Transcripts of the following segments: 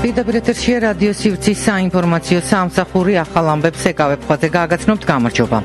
პირდაპირ ეთერშია რადიო სივრცის საინფორმაციო სამსახური ახალ ამბებს ეკავებ ხვაზე გაგაცნობთ გამარჯობა.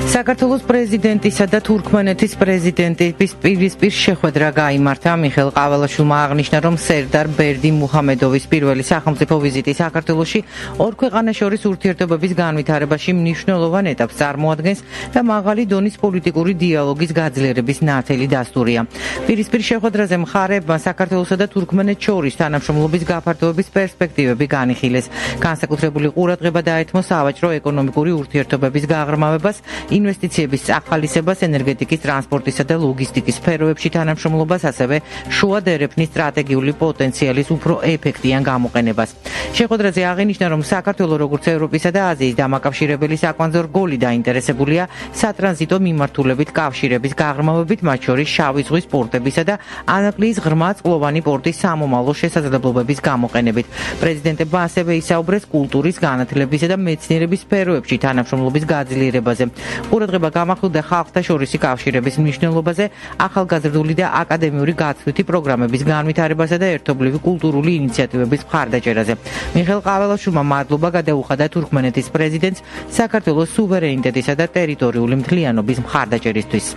საქართველოს პრეზიდენტისა და თურქმენეთის პრეზიდენტის პირისპირ შეხვედრა გაიმართა. მიხეილ ყაველაშვილმა აღნიშნა, რომ სერდარ ბერდი მუჰამედოვის პირველი სახელმწიფო ვიზიტი საქართველოში ორ ქვეყანას შორის ურთიერთობების განვითარებაში მნიშვნელოვან ეტაპს წარმოადგენს და მაღალი დონის პოლიტიკური დიალოგის გაძლიერების ნათელი დასტურია. პირისპირ შეხვედრაზე მხარეებმა საქართველოსა და თურქმენეთს შორის თანამშრომლობის გაფართოების პერსპექტივები განიხილეს. განსაკუთრებული ყურადღება დაეთმო სავაჭრო-ეკონომიკური ურთიერთობების გაღრმავებას, ინვესტიციების წახალისებას, ენერგეტიკის, ტრანსპორტისა და ლოგისტიკის სფეროებში თანამშრომლობას, ასევე შუა დერეფნის სტრატეგიული პოტენციალის უფრო ეფექტიან გამოყენებას. შეხვედრაზე აღინიშნა, რომ საქართველო როგორც ევროპისა და აზიის დამაკავშირებელი საკვანძო რგოლი დაინტერესებულია სატრანზიტო მიმართულებით კავშირების გაღრმავებით, მათ შორის შავი ზღვის პორტებისა და ანაკლიის ღრმა წყლოვანი პორტის სამომავლო შესაძლებლობების გამოყენებით. პრეზიდენტებმა ასევე ისაუბრეს კულტურის, განათლებისა და მეცნიერების სფეროებში თანამშრომლობის გაძლიერებაზე. ყურადღება გამახვილდა ხალხთა შორისი კავშირების მნიშვნელობაზე, ახალგაზრდული და აკადემიური გაცვლითი პროგრამების განვითარებასა და ერთობლივი კულტურული ინიციატივების მხარდაჭერაზე. მიხეილ ყაველაშვილმა მადლობა გადაუხადა თურქმენეთის პრეზიდენტს საქართველოს სუვერენიტეტისა და ტერიტორიული მთლიანობის მხარდაჭერისთვის.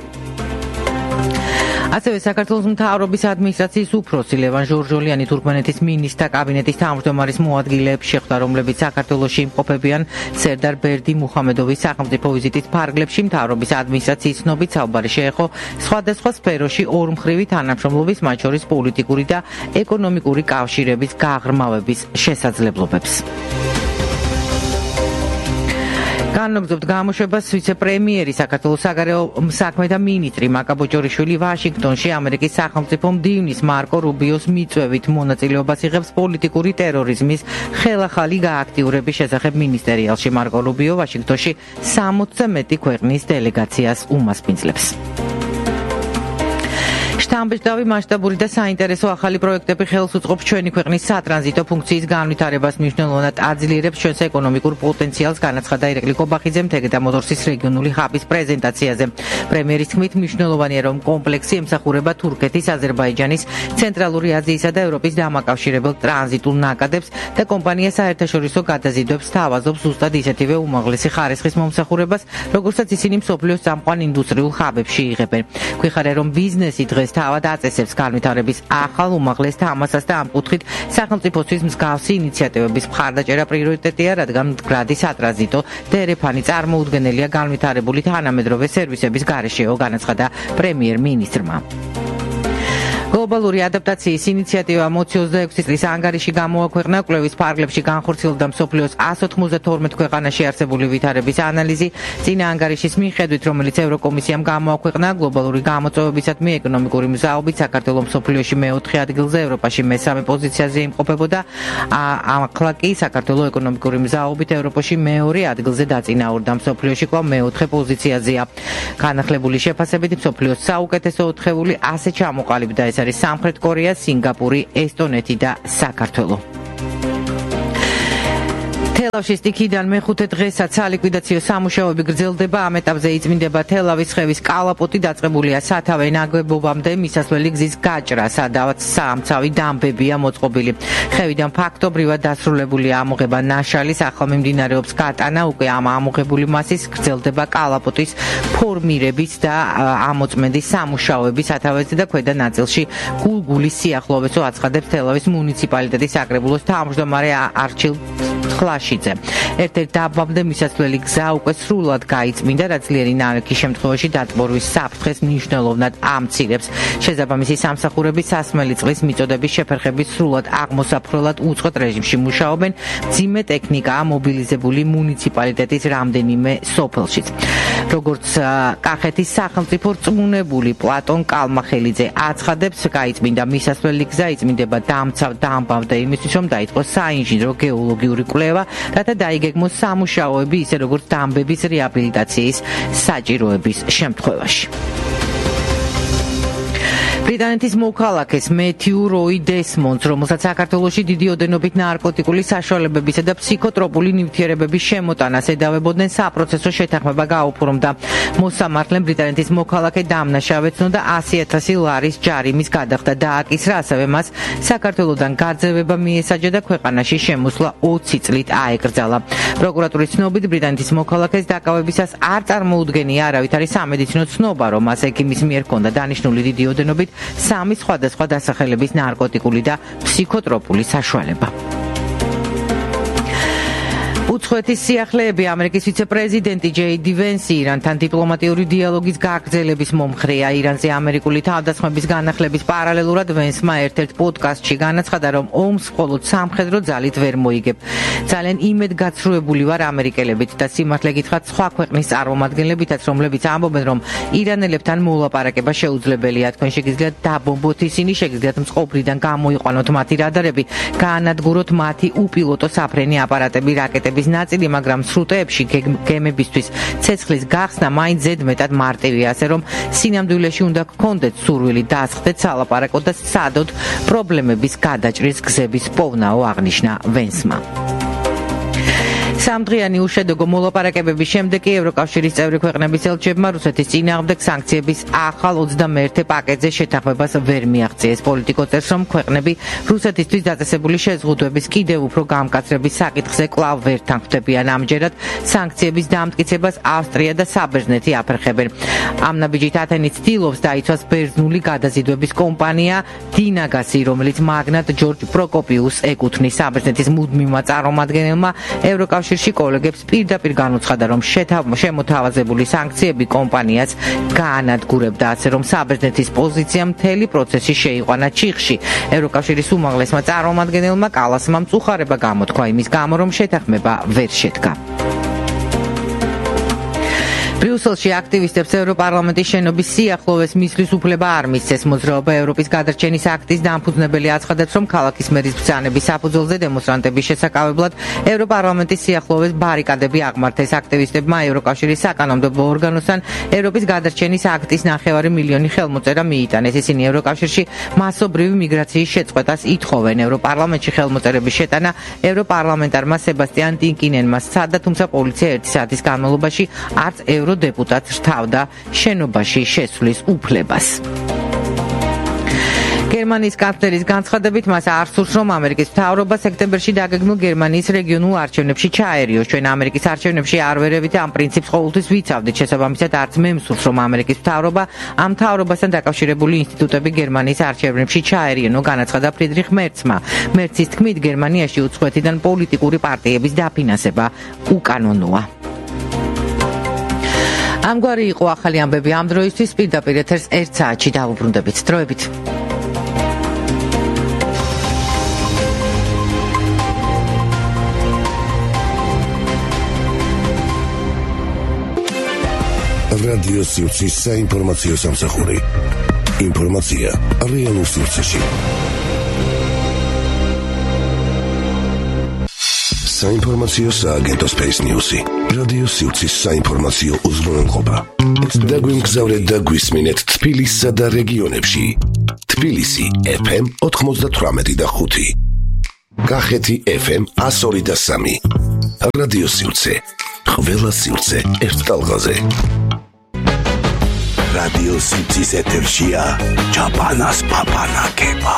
ასევე საქართველოს მთავრობის ადმინისტრაციის უფროსი ლევან ჟორჟოლიანი თურქმენეთის მინისტრთა კაბინეტის თავმჯდომარის მოადგილეებს შეხვდა, რომლებიც საქართველოში იმყოფებიან სერდარ ბერდი მუჰამედოვის სახელმწიფო ვიზიტის ფარგლებში. მთავრობის ადმინისტრაციის ცნობით საუბარი შეეხო სხვადასხვა სფეროში ორმხრივი თანამშრომლობის, მათ შორის პოლიტიკური და ეკონომიკური კავშირების გაღრმავების შესაძლებლობებს. განაგრძობთ გამოშვებას ვიცე-პრემიერი საქართველოს საგარეო საქმეთა მინისტრი მაკა ბოჭორიშვილი ვაშინგტონში ამერიკის სახელმწიფო მდივნის მარკო რუბიოს მიწვევით მონაწილეობას იღებს პოლიტიკური ტერორიზმის ხელახალი გააქტიურების შესახებ მინისტერიალში. მარკო რუბიო ვაშინგტონში 60-ზე მეტი ქვეყნის დელეგაციას უმასპინძლებს. შთამბეჭდავი, მასშტაბური და საინტერესო ახალი პროექტები ხელს უწყობს ჩვენი ქვეყნის სატრანზიტო ფუნქციის განვითარებას, მნიშვნელოვნად აძლიერებს ჩვენს ეკონომიკურ პოტენციალს, განაცხადა ირაკლი კობახიძე მთეგეთა მოტორსის რეგიონული ჰაბის პრეზენტაციაზე. პრემიერის თქმით, მნიშვნელოვანია, რომ კომპლექსი ემსახურება თურქეთის, აზერბაიჯანის, ცენტრალური აზიისა და ევროპის დამაკავშირებელ ტრანზიტულ ნაკადებს და კომპანია საერთაშორისო გადაზიდვებს თავაზობს ზუსტად ისეთივე უმაღლესი ხარისხის მომსახურებას, როგორცაც ისინი მსოფლიოს წამყვან ინდუსტრიულ ჰაბებში იღებენ. გვიხარია, რომ ბიზნესი დღეს თავად აწესებს განვითარების ახალ უმაღლეს თამასას და ამ კუთხით სახელმწიფოსთვის მსგავსი ინიციატივების მხარდაჭერა პრიორიტეტია, რადგან მდგრადი სატრანზიტო დერეფანი წარმოუდგენელია განვითარებული თანამედროვე სერვისების გარეშეო, განაცხადა პრემიერ-მინისტრმა. გლობალური ადაპტაციის ინიციატივა 26 წლის ანგარიში გამოაქვეყნა. კვლევის ფარგლებში განხორციელდა მსოფლიოს 192 ქვეყანაში არსებული ვითარების ანალიზი. წინა ანგარიშის მიხედვით, რომელიც ევროკომისიამ გამოაქვეყნა, გლობალური გამოწვევებისადმი ეკონომიკური მზაობით საქართველო მსოფლიოში მე-4 ადგილზე, ევროპაში მე-3 პოზიციაზე იმყოფებოდა. ახლა კი საქართველო ეკონომიკური მზაობით ევროპაში მე-2 ადგილზე დაწინაურდა, მსოფლიოში კვლავ მე-4 პოზიციაზეა. განახლებული შეფასებით მსოფლიოს საუკეთესო 4-ეული ასე ჩამოყალიბდა. ეს არის სამხრეთ კორეა, სინგაპური, ესტონეთი და საქართველო. თელავში სტიქიდან მე-5 დღესაც სალიკვიდაციო სამუშაოები გრძელდება. ამ ეტაპზე იწმინდება თელავის ხევის კალაპოტი, დაწყებულია სათავე ნაგებობამდე მისასვლელი გზის გაჭრა, სადაც სამცავი დამბებია მოწყობილი. ხევიდან ფაქტობრივად დასრულებულია ამოღება ნაშალის, ახლა მიმდინარეობს გატანა, უკვე ამ ამოღებული მასის გრძელდება კალაპოტის ფორმირების და ამოწმენდის სამუშაოები სათავეზე და ქვედა ნაწილში გულგულის სიახლოვესო აცხადებს თელავის მუნიციპალიტეტის საკრებულოს თავმჯდომარე არჩილ ხლაშიძე. ერთ-ერთ დაბამდე მისასვლელი გზა უკვე სრულად გაიწმინდა, რაც ძლიერი ნალექის შემთხვევაში დატბორვის საფრთხეს მნიშვნელოვნად ამცირებს. შესაბამისი სამსახურები სასმელი წყლის მიწოდების შეფერხების სრულად აღმოსაფრთხებლად უწყვეტ რეჟიმში მუშაობენ. მძიმე ტექნიკაა მობილიზებული მუნიციპალიტეტის რამდენიმე სოფელშიც. როგორც კახეთის სახელმწიფო რწმუნებული პლატონ კალმახელიძე აცხადებს, გაიწმინდა მისასვლელი გზა, იწმინდება დამცავ დამბამდე იმისთვის, რომ დაიწყოს საინჟინრო გეოლოგიური კვლევა, რათა დაიგეგმოს სამუშაოები, ისე როგორც დამბების რეაბილიტაციის საჭიროების შემთხვევაში. ბრიტანეთის მოქალაქეს მეთიუ როი დესმონდს, რომელსაც საქართველოში დიდი ოდენობით ნარკოტიკული საშუალებებისა და ფსიქოტროპული ნივთიერებების შემოტანას ედავებოდნენ საპროცესო შეთანხმება გაუფორმდა. მოსამართლემ ბრიტანეთის მოქალაქე დამნაშავეცნო და 100,000 ლარის ჯარიმის გადახდა დააკისრა, ასევე მას საქართველოდან გაძევება მიესაჯა და ქვეყანაში შემოსვლა 20 წლით აეკრძალა. პროკურატურის ცნობით ბრიტანეთის მოქალაქეს დაკავებისას არ წარმოუდგენია არავითარი სამედიცინო ცნობა, რომ მას ექიმის მიერ ჰქონდა დანიშნული დიდი ოდენობით 3 სხვადასხვა დასახელების ნარკოტიკული და ფსიქოტროპული საშუალება. უცხოეთის სიახლეები ამერიკის ვიცე-პრეზიდენტი ჯეი-დი ვენსი ირანთან დიპლომატიური დიალოგის გაგრძელების მომხრეა. ირანზე ამერიკული თავდასხმების განახლების პარალელურად ვენსმა ერთ-ერთ პოდკასტში განაცხადა, რომ ომს მხოლოდ სამხედრო ძალით ვერ მოიგებ. ძალიან იმედგაცრუებული ვარ ამერიკელებით და სიმართლე გითხრათ სხვა ქვეყნის წარმომადგენლებითაც, რომლებიც ამბობენ, რომ ირანელებთან მოლაპარაკება შეუძლებელია. თქვენ შეგიძლიათ დაბომბოთ ისინი, შეგიძლიათ მწყობრიდან გამოიყვანოთ მათი რადარები, გაანადგუროთ მათი უპილოტო საფრენი აპარატები, რაკეტები ნაწილი, მაგრამ სრუტეებში გემებისთვის ცეცხლის გახსნა მაინც ზედმეტად მარტივია, ასე რომ სინამდვილეში უნდა გქონდეთ სურვილი დასხდეთ სალაპარაკო და სცადოთ პრობლემების გადაჭრის გზების პოვნაო, აღნიშნა ვენსმა. სამდღიანი უშედეგო მოლაპარაკებების შემდეგ ევროკავშირის წევრი ქვეყნების ელჩებმა რუსეთის წინააღმდეგ სანქციების ახალ 21 პაკეტზე შეთანხმებას ვერ მიაღწიეს. პოლიტიკო წერს, რომ ქვეყნები რუსეთისთვის დაწესებული შეზღუდვების კიდევ უფრო გამკაცრების საკითხზე კვლავ ვერ თანხმდებიან. ამჯერად სანქციების დამტკიცებას ავსტრია და საბერძნეთი აფერხებენ. ამ ნაბიჯით ათენი ცდილობს დაიცვას ბერძნული გადაზიდვების კომპანია დინაგასი, რომელიც მაგნატ ჯორჯ პროკოპიუსს ეკუთვნის. საბერძნეთის მუდმივმა წარმომადგენელმა ევროკავშირში კოლეგებს პირდაპირ განუცხადა, რომ შემოთავაზებული სანქციები კომპანიას გაანადგურებდა, ასე რომ საბერძნეთის პოზიცია მთელი პროცესი შეიყვანა ჩიხში. ევროკავშირის უმაღლესმა წარმომადგენელმა კალასმა მწუხარება გამოთქვა იმის გამო, რომ შეთანხმება ვერ შედგა. ბრიუსელში აქტივისტებს ევროპარლამენტის შენობის სიახლოვეს მისვლის უფლება არ მისცეს. მოძრაობა ევროპის გადარჩენის აქტის დამფუძნებელი აცხადებს, რომ ქალაქის მერის ბრძანების საფუძველზე დემონსტრანტების შესაკავებლად ევროპარლამენტის სიახლოვეს ბარიკადები აღმართეს. აქტივისტებმა ევროკავშირის საკანონმდებლო ორგანოსთან ევროპის გადარჩენის აქტის 9 მილიონი ხელმოწერა მიიტანეს. ისინი ევროკავშირში მასობრივი მიგრაციის შეწყვეტას ითხოვენ. ევროპარლამენტში ხელმოწერების შეტანა ევროპარლამენტარმა სებასტიან ტინკინენმა სცადა, თუმცა პოლიცია 1 საათის განმავლობაში არც ევროდეპუტატს რთავდა შენობაში შესვლის უფლებას. გერმანიის კანცლერის განცხადებით მას არ სურს, რომ ამერიკის მთავრობა სექტემბერში დაგეგმილ გერმანიის რეგიონულ არჩევნებში ჩაერიოს. ჩვენ ამერიკის არჩევნებში არ ვერევით ამ პრინციპს ყოველთვის ვიცავდით. შესაბამისად, არც მე მსურს, რომ ამერიკის მთავრობა ამ მთავრობასთან დაკავშირებული ინსტიტუტები გერმანიის არჩევნებში ჩაერიენო, განაცხადა ფრიდრიხ მერცმა. მერცის თქმით, გერმანიაში უცხოეთიდან პოლიტიკური პარტიების დაფინანსება უკანონოა. ამგვარი იყო ახალი ამბები ამ დროისთვის. პირდაპირ ეთერს 1 საათში დავუბრუნდებით. დროებით. რადიო სიუცის საინფორმაციო სამსახური. ინფორმაცია რეალურ სიუცეში. საინფორმაციო სააგენტო Space News-ი. რადიო სიუცის საინფორმაციო უზრუნველყოფა. დაგვიმგზავრეთ და გვისმინეთ თბილისსა და რეგიონებში. თბილისი FM 98.5. კახეთი FM 102.3. რადიო სიუცე. ყველა სიუცე ერთ ტალღაზე. რადიო სიუცის ეთერშია ჩაპანას პაპანაკება.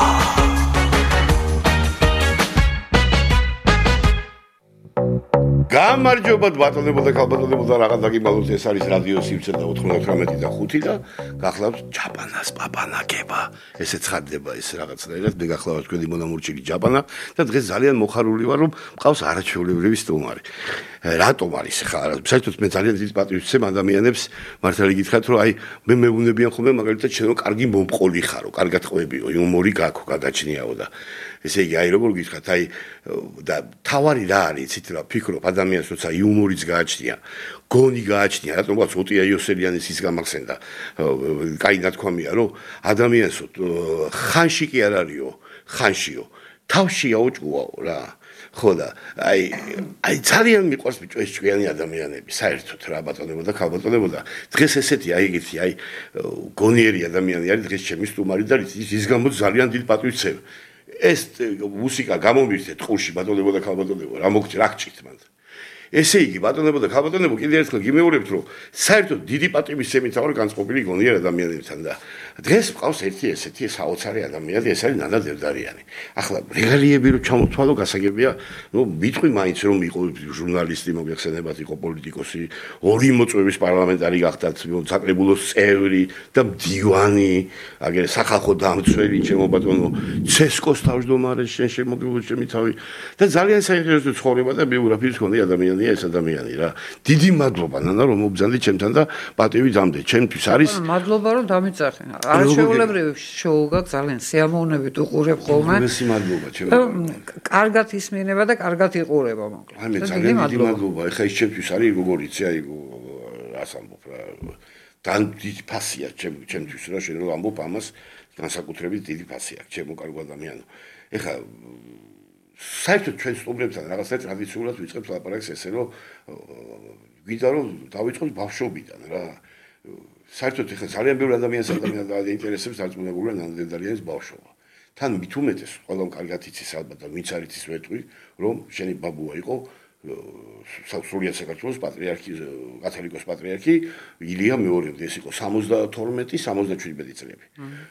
გამარჯობა ბატონებო და ქალბატონებო და რაღაც დაგიმალოთ, ეს არის რადიო სიუცე და 98.5 და გახლავთ ჩაპანას პაპანაკება. ესე ცხადდება ეს რაღაცნაირად, მე გახლავთ თქვენი მონამორჩილი ჩაპანა და დღეს ძალიან მოხარული ვარ, რომ მყავს არაჩვეულებრივი სტუმარი. რატომ არის ხა? საერთოდ მე ძალიან დიდ პატრიოტს ვცემ ადამიანებს, მართალი გითხრათ, რომ აი მე მეუბნებიან ხოლმე მაგალითად შენ კარგი მომყოლი ხარო, კარგად ყვებიო, იუმორი გაქვს, გადაჭნიაო და ესე იგი აი როგორ გითხრათ, აი და თავარი რა არის, იცით რა ფიქრობ ადამიანს, როცა იუმორიც გააჩნია, გონი გააჩნია, რატომაც ოტია იოსელიანის ის გამახსენდა, კაი ნათქვამია, რომ ადამიანს ხანში კი არ არისო, ხანშიო თავში აუჭუაო რა. ხო და აი ძალიან მიყვარს ბიჭო ეს ჭკვიანი ადამიანები საერთოდ რა ბატონებო და ქალბატონებო და დღეს ესეთი აი ეგეთი აი გონიერი ადამიანი არის დღეს ჩემი სტუმარი და ის გამოც ძალიან დიდ პატივს ცევ ეს მუსიკა გამომირთეთ ყურში ბატონებო და ქალბატონებო რა მოგჭი რა გჭირთ მანდ ესე იგი ბატონებო და ქალბატონებო კიდევ ერთხელ გიმეორებთ რომ საერთოდ დიდი პატივის შემითავარ განწყობილი გონიერ ადამიანებთან და დღეს მყავს ერთი ესეთი საოცარი ადამიანი ეს არის ნანა დევდარიანი ახლა რეგალიები რომ ჩამოთვალო გასაგებია ნუ მიტყვი მაინც რომ იყო ჟურნალისტი მოგეხსენებათ იყო პოლიტიკოსი ორი მოწვევის პარლამენტარი გახდათ საკრებულოს წევრი და მდივანი აგერ სახალხო დამცველი ჩემო ბატონო ცესკოს თავმჯდომარე შენ შემოგივლო ჩემი თავი და ძალიან საინტერესო ცხოვრება და ბიოგრაფიის მქონე ადამიანია ეს ადამიანი რა დიდი მადლობა ნანა რომ მობრძანდი ჩემთან და პატივი დამდე ჩემთვის არის მადლობა რომ დამიწახე არაჩვეულებრივი შოუ გაქვს ძალიან სიამოვნებით უყურებ ხოლმე. მოგესალმებით მადლობა ჩემო. კარგად ისმინება და კარგად იყურება მოკლედ. აი მე ძალიან დიდი მადლობა. ეხა ის ჩემთვის არის როგორ იცი აი რას ამბობ რა. თან დიდი ფასია ჩემთვის რა შენ რომ ამბობ ამას განსაკუთრებით დიდი ფასია ჩემო კარგო ადამიანო. ეხა საერთოდ ჩვენ სტუმრებთან რაღაცა ტრადიციულად ვიწყებთ ლაპარაკს ესე რომ გვინდა რომ დავიწყოთ ბავშვობიდან რა. საერთოდ ეხლა ძალიან ბევრი ადამიანს აინტერესებს დარწმუნებულია ნამდვილად ბავშვობა. თან მით უმეტეს ყველამ კარგად იცის ალბათ და ვინც არ იცის ვეტყვი რომ შენი ბაბუა იყო სრულიად საქართველოს პატრიარქი კათოლიკოს პატრიარქი ილია მეორედი ეს იყო 72-77 წლები.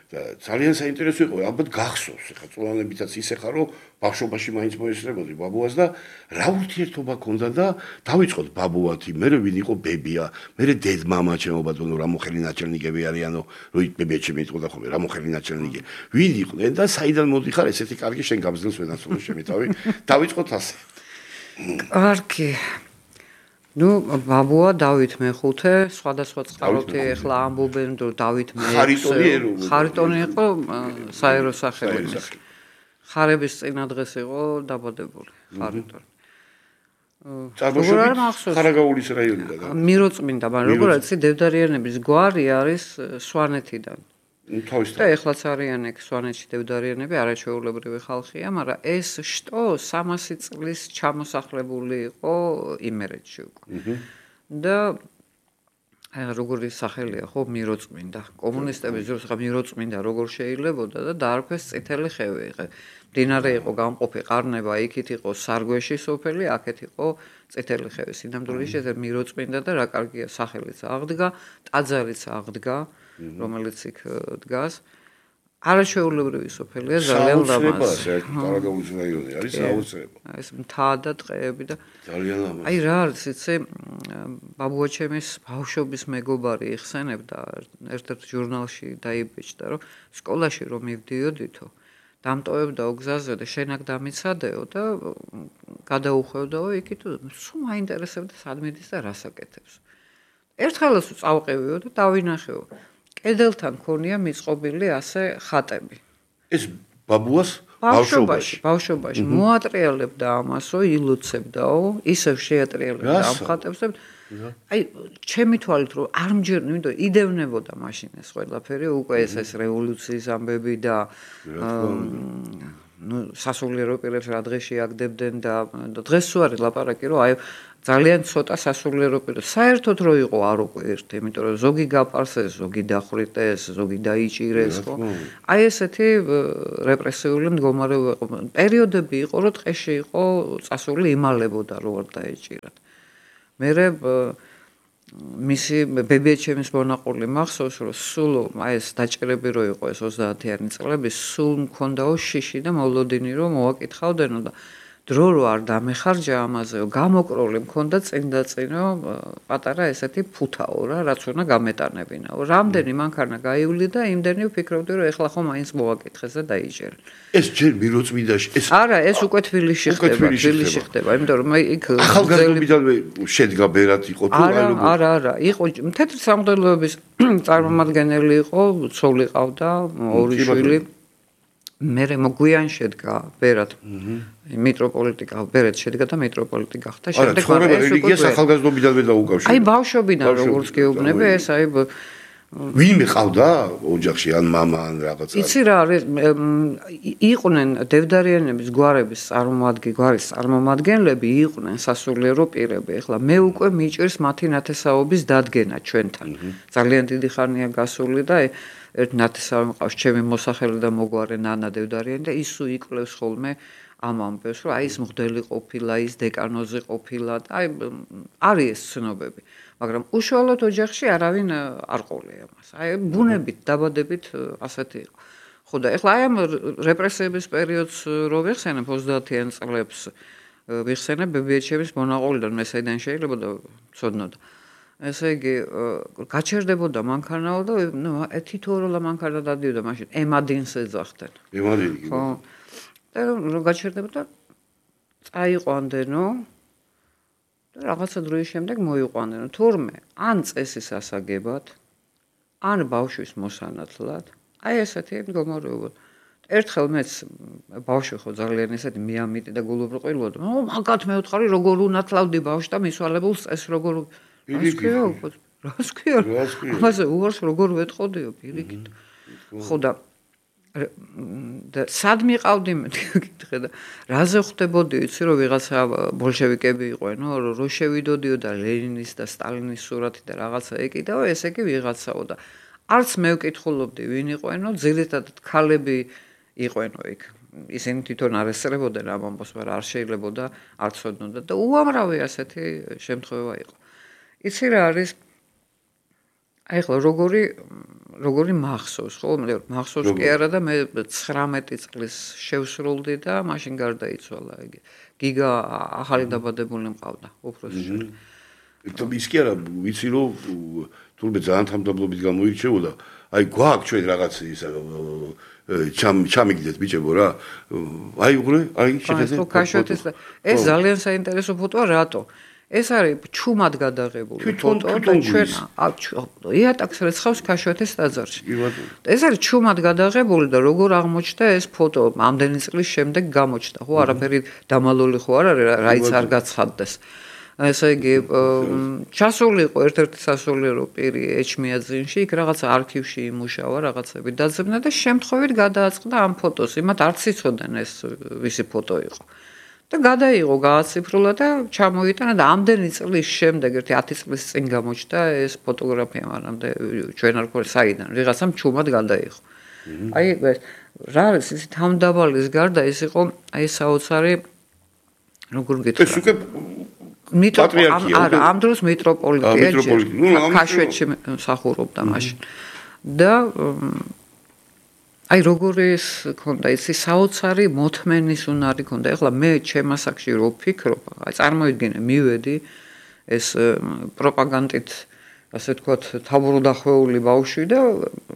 და ძალიან საინტერესო იყო ალბათ გახსოვს ეხლა წლოვანებითაც ისე ხარ რომ ბავშვობაში მაინც მოესწრებოდი ბაბუას და რა ურთიერთობა ქონდა და დავიწყოთ ბაბუათი მე ვინ იყო ბებია მე დედმამა ჩემო ბატონო რა მოხელი ნაჩელნიკები არიანო რო ბებია ჩემი იტყოდა ხოლმე რა მოხელი ნაჩელნიკი ვინ იყვნენ და საიდან მოდიხარ ესეთი კარგი შენ გაბზდელს ვენაცვლო ჩემი თავი დავიწყოთ ასე კარგი. ნუ ბაბუა დავით მეხუთე, სხვადასხვა წყაროთი ახლა ამბობენ რომ დავით მე ხარიტონი იყო საერო სახელმწიფო. ხარების წინა დღეს იყო დაბადებული ხარიტონი. წარმოშობით ხარაგაულის რაიონიდან. მიროწმინდა, მაგრამ როგორ არის დევდარიანების გვარი არის სვანეთიდან. და ეხლაც არიან ეგ სვანეთში დევდარიანები არაჩვეულებრივი ხალხია, მაგრამ ეს შტო 300 წლის ჩამოსახლებული იყო იმერეთში უკვე. და როგორი სახელია ხო მიროწმინდა. კომუნისტების დროს ხა მიროწმინდა როგორ შეიძლებოდა და დაარქვეს წითელი ხევი. მდინარე იყო გამყოფი ყარნება, იქით იყო სარგვეში სოფელი, აქეთ იყო წითელი ხევი. სინამდვილეში ეს მიროწმინდა და რა კარგია სახელიც აღდგა, ტაძარიც აღდგა. რომელიც იქ დგას არაჩვეულებრივი სოფელია ძალიან ლამაზი. კარაგაულის რაიონი არის საოცრება. ეს მთა და ტყეები და ძალიან ლამაზი. აი რა არის იცი ბაბუა ჩემის ბავშვობის მეგობარი იხსენებდა ერთ-ერთ ჟურნალში დაიბეჭდა რომ სკოლაში რომ მივდიოდითო დამტოვებდაო გზაზე და შენაკ დამიცადეო და გადაუხვევდაო იქით სულ მაინტერესებდა სად მიდის და რას აკეთებს. ერთხელაც წავყევიო და დავინახეო კედელთან ქონია მიწყობილი ასე ხატები. ეს ბაბუას ბავშვობაში მოატრიალებდა ამასო, ილოცებდაო, ისევ შეატრიალებდა ამ ხატებს. აი, ჩემი თვალით რომ არ მჯერნი, იმიტომ იდევნებოდა მაშინ ეს ყველაფერი, უკვე ეს რევოლუციის ამბები და ნუ სასულიერო პირებს რა დღეში აგდებდნენ და დღეს თუ არის ლაპარაკი რომ აი ძალიან ცოტა სასულიერო პირებს საერთოდ რო იყო არ უკვე ერთი, იმიტომ რომ ზოგი გაპარსეს, ზოგი დახვრიტეს, ზოგი დაიჭირეს, ხო? აი ესეთი რეპრესიული მდგომარეობა იყო. პერიოდები იყო, რომ ტყეში იყო წასული იმალებოდა რო არ დაეჭირათ. მერე მისი ბებიაჩემის მონაყოლი მახსოვს რომ სულ აი ეს დაჭერები რო იყო ეს 30-იანი წლები სულ მქონდაო შიში და მოლოდინი რომ მოაკითხავდენო და დრო რო არ დამეხარჯა ამაზეო გამოკროლი მქონდა წინ და წინო პატარა ესეთი ფუთაო რა რაც უნდა გამეტანებინაო რამდენი მანქანა გაივლი და იმდენი ვფიქრობდი რომ ეხლა ხომ აინც მოაკითხეს და დაიჭერა ეს ჯერ მიროწმინდაში ეს არა ეს უკვე თბილისში ხდება იმიტომ რომ იქ ახალგაზრდობიდანვე შედგა ბერად იყო თუ არა იყო თეთრი სამღვდელოების წარმომადგენელი იყო ცოლი ყავდა ორი შვილი მერე მოგვიან შედგა ბერად მიტროპოლიტიკა ბერად შედგა და მიტროპოლიტი გახდა შემდეგ მაგრამ რელიგიას ახალგაზრდობიდანვე დაუკავშირა აი ბავშვობიდან როგორც გეუბნები ეს აი ვინმე ყავდა ოჯახში ან მამა ან რაღაცა? იცი რა არის იყვნენ დევდარიანების გვარის წარმომადგენლები იყვნენ სასულიერო პირები. ეხლა მე უკვე მიჭირს მათი ნათესაობის დადგენა ჩვენთან. ძალიან დიდი ხანია გასული და ერთ ნათესავი მყავს ჩემი მოსახელე და მოგვარე ნანა დევდარიანი და ისუ იკლევს ხოლმე ამ ამბებს, რომ აი ის მღვდელი ყოფილა, ის დეკანოზი ყოფილა და აი არის ეს ცნობები. მაგრამ უშუალოდ ოჯახში არავინ არ ყოლია მას. აი ბუნებით, დაბადებით ასეთი იყო. ხო და ეხლა აი ამ რეპრესიების პერიოდს რო ვიხსენებ 30-იან წლებს ვიხსენებ ბებიაჩემის მონაყოლიდან მე საიდან შეიძლება და ცოდნოდა. ესე იგი გაჩერდებოდა მანქანაო და თითოეულა მანქანა დადიოდა მაშინ ემადინს ეძახდნენ. ემადინი. ხო. და რომ გაჩერდებოდა წაიყვანდენო და რაღაცა დროის შემდეგ მოიყვანენო. თურმე ან წესის ასაგებად, ან ბავშვის მოსანათლად. აი ესეთი მდგომარეობა. ერთხელ მეც ბავშვი ხო ძალიან ესეთი მიამიტი და გულუბრყვილოდა. მაგათ მე ვთხარი როგორ უნათლავდი ბავშვს და მისვალებულს წეს როგორ რას ქვია? ამაზე უარს როგორ ვეტყოდიო პირიქით. ხო და სად მიყავდი მეკითხე და რაზე ხვდებოდი იცი რომ ვიღაცა ბოლშევიკები იყვენო რო შევიდოდიო და ლენინის და სტალინის სურათი და რაღაცა ეკიდაო ესე კი ვიღაცაო და არც მე ვკითხულობდი ვინ იყვენო ძირითადად ქალები იყვენო იქ ისინი თვითონ არ ესწრებოდნენ ამ ამბავს მაგრამ არ შეიძლებოდა არ ცოდნოდა და უამრავი ასეთი შემთხვევა იყო იცი რა არის აი ხო როგორი მახსოვს ხო მე მახსოვს კი არა და მე 19 წლის შევსრულდი და მაშინ გარდაიცვალა იგი გიგა ახალი დაბადებული მყავდა უფროსი შვილი ის კი არა ვიცი რომ თურმე ძალიან თამდაბლობით გამოირჩეოდა აი გვაქვს ჩვენ რაღაც ისა ჩამიგდეთ ბიჭებო რა აი უყურე აი შეხედე ეს ძალიან საინტერესო ფოტოა რატო ეს არის ჩუმად გადაღებული ფოტო და ჩვენ იატაკს რეცხავს ქაშვეთის ტაძარში. ეს არის ჩუმად გადაღებული და როგორ აღმოჩნდა ეს ფოტო ამდენი წლის შემდეგ გამოჩნდა. ხო არაფერი დამალული ხო არ არის რაიც არ გაცხადდეს. ესე იგი ჩასული იყო ერთ-ერთი სასულიერო პირი ეჩმიაძინში, იქ რაღაცა არქივში იმუშავა, რაღაცები დაძებნა და შემთხვევით გადააწყდა ამ ფოტოს. იმათ არც იცოდნენ ეს ვისი ფოტო იყო. და გადაიღო გააციფრულა და ჩამოიტანა და ამდენი წლის შემდეგ ერთი 10 წლის წინ გამოჩნდა ეს ფოტოგრაფია მანამდე ჩვენ არ გვქონდა საიდან ვიღაცამ ჩუმად გადაიღო აი რა არის ის თამდაბალის გარდა ეს იყო აი საოცარი როგორ გითხრა ეს უკვე პატრიარქია არა ამ დროს მიტროპოლიტია ქაშვეთში მსახურობდა მაშინ და აი როგორი ეს ქონდა ისი საოცარი მოთმენის უნარი ქონდა ეხლა მე ჩემ ასაკში რო ვფიქრობ აი წარმოიდგინე მივედი ეს პროპაგანდით ასე ვთქვათ თაბურუდახვეული ბავშვი და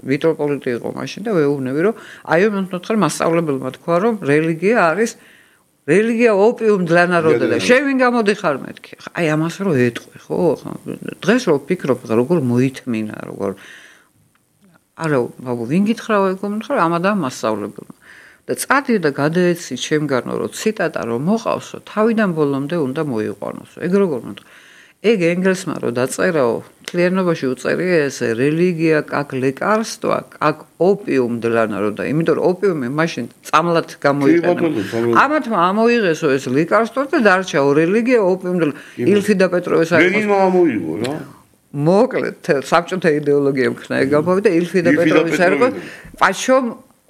მიტროპოლიტი იყო მაშინ და ვეუბნები რომ აი მე მეთქარ მასწავლებელმა თქვა რომ რელიგია ოპიუმ для народа და შენ ვინ გამოდიხარ მეთქი აი ამას რო ეტყვი ხო დღეს რო ვფიქრობ როგორ მოითმინა როგორ არა, ბაბუ, ვინ გითხრაო ეკომთხარ ამადამ მასწავლებელმა. და წადი და გადაეცი ჩემგანო რომ ციტატა რომ მოყავსო, თავიდან ბოლომდე უნდა მოიყვანოსო. ეგ როგორ მომთქვა? ეგ ენგელსმა რო დაწერაო, თლიანობაში უწერია ესე რელიგია как лекарство, как опиум для народа. იმიტომ რომ ოპიუმი მაშინ წამლად გამოიყენა. ამათმა ამოიღესო ეს лекарство და დარჩაო რელიგია ოპიუმ для ილფი და პეტროვის არის. რეგინმა ამოიღო რა. მოკლედ საბჭოთა იდეოლოგია მქნა ეგ გამოვიდა ილფი და პეტროვის ერგო პაჩომ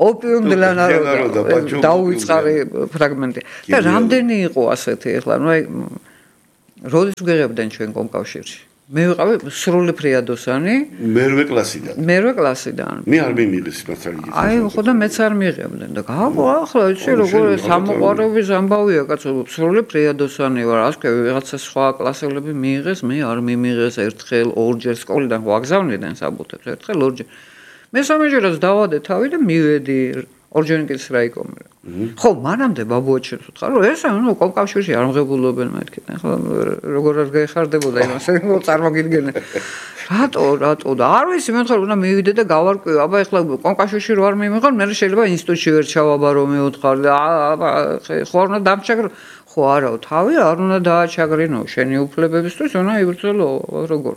ოპიუმ для народа დაუვიწყარი ფრაგმენტი და რამდენი იყო ასეთი ახლა ნუ აი როდის ვღებდნენ ჩვენ კომკავშირში მე ვიყავი სრული ფრიადოსანი მერვე კლასიდან მე არ მიმიღეს მასალით აი ხო და მეც არ მიღებდნენ და გავა ახლა იცი როგორ სამოყვარების ამბავია კაცო სრული ფრიადოსანი ვარ ასკე ვიღაცა სხვა კლასელები მიიღეს მე არ მიმიღეს ერთხელ ორჯერ სკოლიდან ვაგზავნიდნენ საბუთებს ერთხელ ორჯერ მესამეჯერაც დავადე თავი და მივედი ორჯონიკის რაიკომი ხო მანამდე ბაბუაჩემს ვთქვა რომ ეს ნუ კომკავშირში არ მღებულობენ მეთქი ხო როგორ არ გაიხარდებოდა იმას წარმოგიდგენე რატო და არ ვიცი მე ვთქვა უნდა მივიდე და გავარკვიო აბა ეხლა კომკავშირში რო არ მიმიღარ მე შეიძლება ინსტიტუტში ვერ ჩავაბა რომ მეუთხარ და ხო არ უნდა დამჩაგრო ხო არაო თავი არ უნდა დააჩაგრინო შენი უფლებებისთვის უნდა იბრძოლო როგორ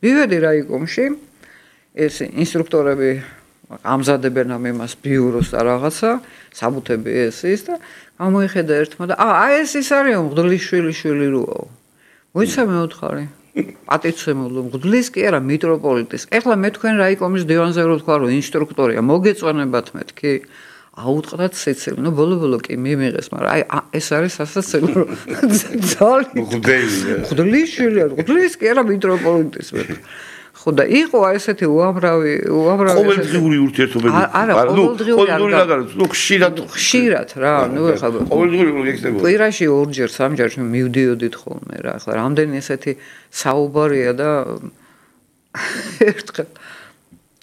მივედი რაიკომში ეს ინსტრუქტორები ამზადებენ ამ იმას ბიუროს და რაღაცა, საბუთები ეს ის და გამოიხედა ერთმა და ეს ის არის მღვდლის შვილი როაო. მოიცა მეოთხარი. პატიცემულო მღვდლის კი არა მიტროპოლიტის. ეხლა მე თქვენ რაიკომის დივანზე რო თქვა რომ ინსტრუქტორია, მოგეწონებათ მეთქი. აუტყდათ სიცილი. ნუ ბოლო კი მიმიღეს, მაგრამ ეს არის სასაცილო რომ ძალიან მღვდლის შვილი არა, მღვდლის კი არა მიტროპოლიტის მეთქი. ხო და იყო ესეთი უამრავი ყოველდღიური ურთიერთობები. არა, ყოველდღიური არა, ნუ ხშირად რა, ნუ ეხლა ყოველდღიური ექცევა. კვირაში ორჯერ, სამჯერ მივდიოდით ხოლმე რა. ეხლა რამდენი ესეთი საუბარია და ერთხელ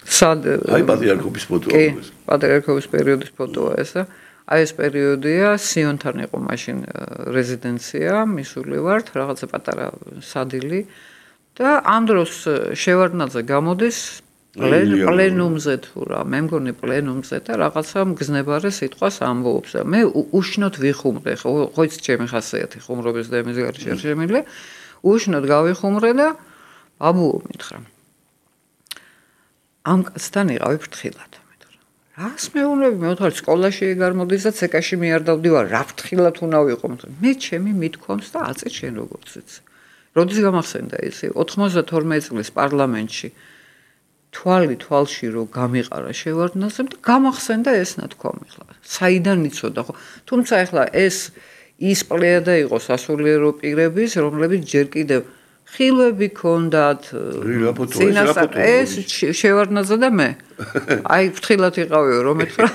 აი პატრიარქობის ფოტოა ეს. პატრიარქობის პერიოდის ფოტოა ეს და აი ეს პერიოდია სიონთან იყო მაშინ რეზიდენცია, მისული ვართ, რაღაცა პატარა სადილი და ამ დროს შევარდნაძე გამოდის პლენუმზე თუ რა, მე მგონი პლენუმზე და რაღაცა მგზნებარე სიტყვას ამბობს და მე უშნოდ ვიხუმრე, ხო იცი ჩემი ხასიათი ხუმრობის და იმის გარშე შემიძლია, უშნოდ გავიხუმრე და ბაბუო მითხრა ამ კაცთან იყავი ფრთხილად მითხრა. რას მეუბნები, მე ვთქვი სკოლაში გარმოდის და ცეკაში მე არ დავდივარ, რა ფრთხილად უნდა ვიყო, მე ჩემი მithქვამს და აწე შენ როგორც იცი. როდის გამახსენდა ისი 92 წლის პარლამენტში თვალში რომ გამიყარა შევარდნაძემ და გამახსენდა ეს ნათქვამი ხლა. საიდან იცოდა ხო? თუმცა ეხლა ის პლეადა იყო სასულიერო პირების, რომლებიც ჯერ კიდევ ხილვები ქონდათ. ეს შევარდნაძე და მე. აი ფრთხილად იყავიო რომ მეთხრა.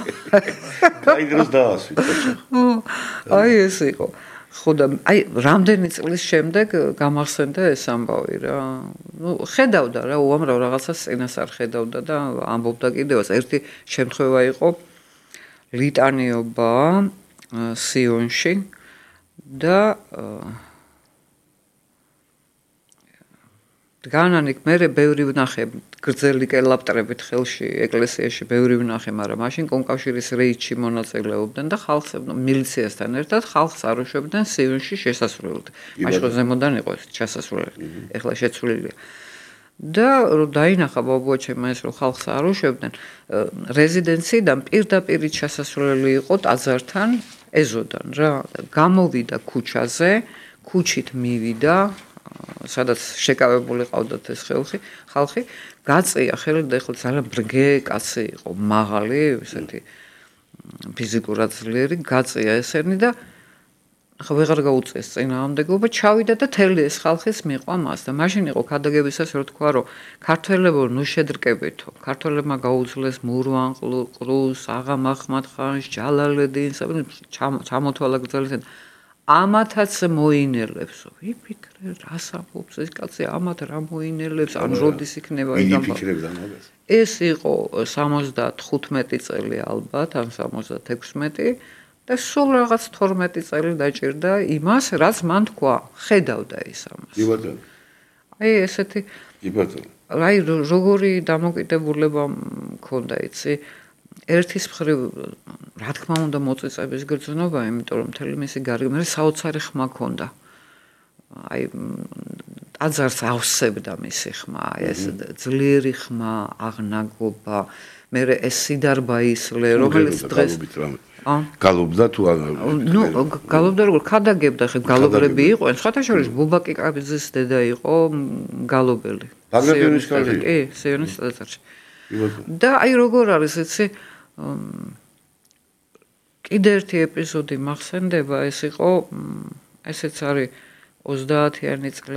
აი დროს დაასვით. აი ეს იყო. ხო და აი რამდენი წლის შემდეგ გამახსენდა ეს ამბავი რა. ნუ ხედავდა რა უამრავ რაღაცას წინასწარ ხედავდა და ამბობდა კიდევაც ერთი შემთხვევა იყო ლიტანიობა სიონში და განანიკ მე ბევრი ვნახე გრძელი კელაპტრებით ხელში ეკლესიაში ბევრი ვნახე, მაგრამ მაშინ კონკავშირის რეიდში მონაწილეობდნენ და ხალხს მილიციასთან ერთად ხალხს არუშვებდნენ სიონში შესასვლელად. მაშინ ზემოდან იყო შესასვლელი. ეხლა შეცვლილია. და რომ დაინახა ბაბუა ჩემმა ეს რომ ხალხს არუშვებდნენ, რეზიდენციიდან პირდაპირ შესასვლელი იყო ტაძართან ეზოდან რა. გამოვიდა ქუჩაზე, ქუჩით მივიდა სადაც შეკავებული ყავდათ ეს ხალხი გაწია ხელი და ეხლა ძალიან ბრგე კაცი იყო მაღალი ესეთი ფიზიკურად ძლიერი გაწია ესენი და ახლა ვეღარ გაუწეს წინააღმდეგობა ჩავიდა და თელი ეს ხალხის მიყვა მას და მაშინ იყო ქადაგებისას რო თქვა რომ ქართველებო ნუ შედრკებითო ქართველებმა გაუძლეს მურვან ყრუს აღა მაჰმად ხანს ჯალალედინს ჩამოთვალა გრძელიდან ამათაც მოინელებსო. ვიფიქრე, რას ამბობს ეს კაცი, ამათ რა მოინელებს, ან როდის იქნება ეს ამბავი. ეს იყო 75 წელი ალბათ, ან 76 და სულ რაღაც 12 წელი დაჭირდა იმას, რაც მან თქვა, ხედავდა ის ამას. კი ბატონო. აი ესეთი კი ბატონო. აი როგორი დამოკიდებულება მქონდა იცი ერთის მხრივ რა თქმა უნდა მოწიწების გრძნობა, იმიტომ რომ მთელი მისი გარემო საოცარი ხმა ქონდა. აი ტაძარს ავსებდა მისი ხმა, ეს ძლიერი ხმა, აღნაგობა, მე ეს სიდარბა ისლე, რომელიც დღეს გალობდა თუ არა? ნუ გალობდა როგორ ქადაგებდა, ხე გალობრები იყვნენ, სხვათა შორის ბუბაკი კაბიძის დედა იყო გალობელი. ბაგრატიონის კარგი? კი, სიონის ტაძარში. და აი როგორ არის იცი კიდე ერთი ეპიზოდი მახსენდება ეს იყო ესეც არის 30-იანი წლები